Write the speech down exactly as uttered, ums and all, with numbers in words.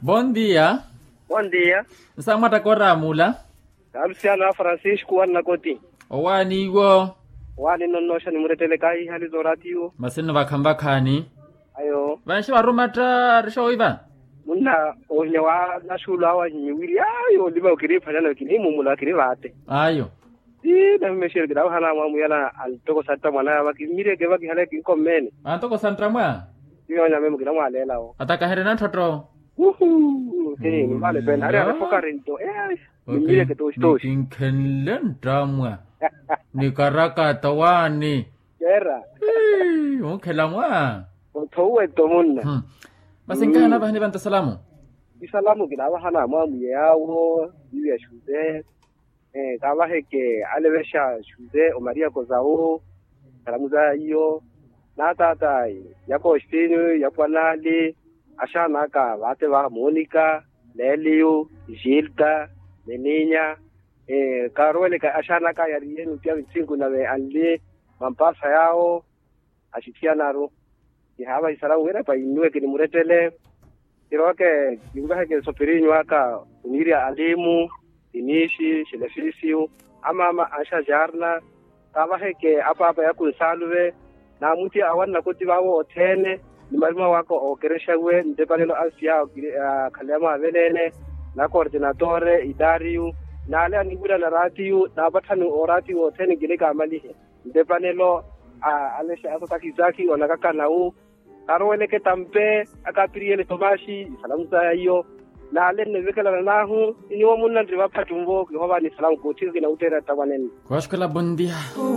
Bon dia. Bon dia. Nsamwatta koramula. Kalusiano a francisco wannakoti. Owaani iwo? Owaani nno nnooxa nimurettele kaahihaliza oratiyo. Masi nno vakhanvakhaani. Ayo. Vanxi varumatta rixooiva. Munna ohinya wa naxuulu awo ahinyiwiri ayo olima okiriphanyana kiniimumula kiri vaate. Ayo. Ii nahimexeri kinaawaha namwamuyana antoko santta mwanaya vakimireke vakihale kinkommeene. Antoko santta mwa? Ii onyamemo kinamwaleelawo. Atakaherena ntthottho. Uhu. Ii nimale pene ari arefokarinto. Nimireke tooxi tooxi. Nikinkhenle ntta mwa. Nikarakata waani. Kera. Ii wunkhela mwa. Othowuwe tto munna. Masi nkahana vahani vantta salamu. Isalamu kinavaha namwamwiye yaawo. Iwi ya xuze. Kaavaheke alevexa xuze omaria kozawu. Salamu za iyo. Naataata ya kostinyu ya pwanali. Axaana aka vaate va monika, leliyu, gilta, meninya. Kaaruweleke axaana aka yariye nutiya vitsinku nave anli mampasa yaawo. Axithiyanaru. Kihaavaha isalamu wira painnuweke nimurettele. Kiroweke kinvaheke sopirinyu aka oniirya alimu, tinixi xelefisiyu, amaama anxa jarna. Kaavaheke apaapa yakunsaluve. Naamutiya awanna kuti vaavo othene. Ni marima waka ookerexawe ntepanelo ansiya. Akhaleya mwaaveleene na kortinatore itariyu. Naale aniwirana ratiyu naapatthani oratiyu othene nkinikamalihe. Ntepanelo a alexa asotakisaki onakakanawu. Kaaroweleke tampe akapiriyele tomaxi isalamu saya iyo. Naale nnivekelana nahu. Iniwo munna nri vaphattunvo kihoovani isalamu koothika kinawutteera ttavanenno. Kooxukela bondia.